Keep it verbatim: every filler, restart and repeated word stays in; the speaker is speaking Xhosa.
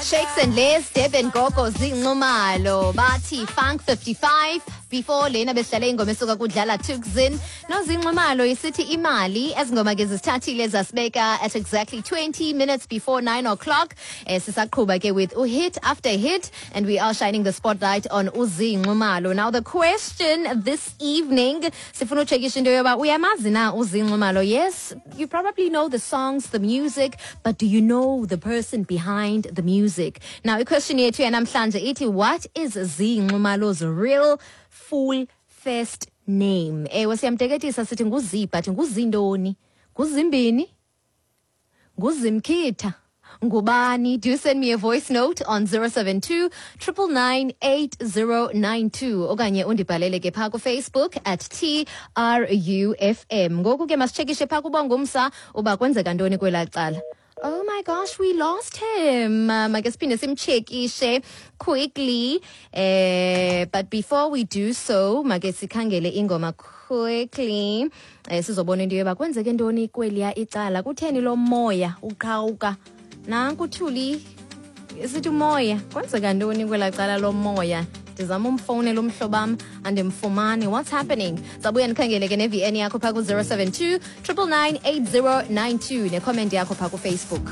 Shakes and Les, Durban Gogo, Zee Nxumalo, bathi Funk fifty-five. Before lena besidlale ingoma esuka kudlala Tuxin noZee Nxumalo, isithi Imali. Ezingoma ke zisithathile zasibeka at exactly twenty minutes before nine o'clock. eh, sisaqhuba ke with hit after hit, and we are shining the spotlight on uZee Nxumalo. Now the question this evening, sifuna uchekisha into yoba uyamazi na uZee Nxumalo. Yes, you probably know the songs, the music, but do you know the person behind the music? Now i-question yethu yanamhlanje ithi, what is Zee Nxumalo's real full first name? Ewe, siyamteketisa sithi nguZee, but nguzintoni? Nguzimbini? Nguzimkhitha? Ngubani? Do send me a voice note on zero seven two nine nine nine eight zero nine two okanye undibhalele ke phaa kuFacebook at T R U F M. Ngoku ke masitshekishe phaa kuBongumsa uba kwenzeka ntoni kwelaa cala. Oh my gosh, we lost him. Um, make siphinde simchekishe quickly. Eh, but before we do so, make sikhangele ingoma quickly. Eh, sizobona into yoba kwenzeke ntoni kweliya icala. Kutheni lo moya uqhawuka? Nanku Thuli sithi umoya. Kwenzeka ntoni kwelaa cala lo moya? Ndizama umfowunela umhlobo wam, andimfumani. What's happening? Sabuya ndikhangele ke ne-V N yakho phaa ku-zero seven two nine nine nine eight zero nine two ne-comment yakho phaa kuFacebook.